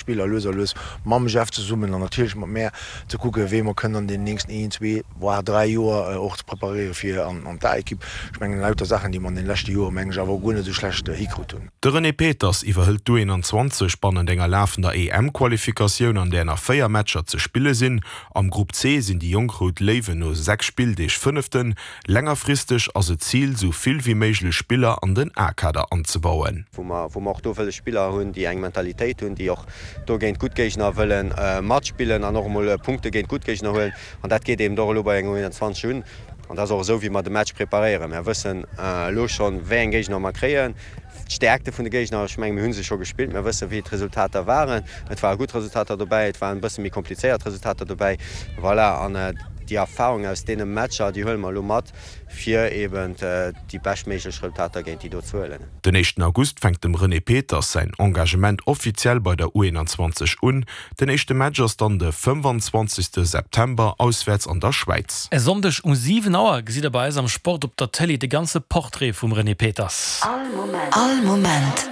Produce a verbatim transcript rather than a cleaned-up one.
Spiller lues a lues mam Jeff zesummen an natierlech mat mär ze kucken, wéi mer kënnen an deenen nächsten een, zwee, voire dräi Joer och ze preparéiere fir an d'A-Ekipp. Ech mengen, lauter Saachen, déi mer an deene leschte Jore, mengen ech, awer och guer net esou schlecht hikrut hunn. De René Peters iwwerhëlt d'U einundzwanzeg bannent enger lafender E M-Qualifikatioun, an där nach véier Matcher ze spille sinn. Am Grupp C sinn déi jonk Rout Léiwen no sechs Spilldeeg Fënneften. Längerfristeg ass et d'Zil, sou vill wéi méiglech Spiller an den A-Kader anzebauen. Wou mer wou mer och do wëlle Spiller hunn, déi eng Mentalitéit hunn, déi och do géint gutt Géigner wëlle matspillen an och emol Punkte géint gutt Géigner huelen. An dat geet eben och elo bei engem U einundzwanzeg un. An dat ass och esou, wéi mer de Match preparéieren. Mer wëssen elo schonn, wéi eng Géigner mer kréien, d'Stäerkte vun de Géigner. Ech mengen, mir hu se scho gespillt, mer wëssen, wéi d'Resultater waren. Et ware gutt Resultater dobäi, et waren e bësse méi komplizéiert Resultater dobäi. Voilà, an déi Erfahrung aus deene Matcher, déi huele mer elo mat, fir eben déi beschtméiglech Resultater géint déi do ze huelen. Den éischten August fänkt dem René Peters säin Engagement offiziell bei der U einundzwanzeg un. Den éischte Match ass dann de fënnefanzwanzegste September auswäerts an der Schwäiz. E Sonndeg um siwen Auer gesitt der bei eis am Sport op der Tëlee de ganze Portrait vum René Peters. All Moment.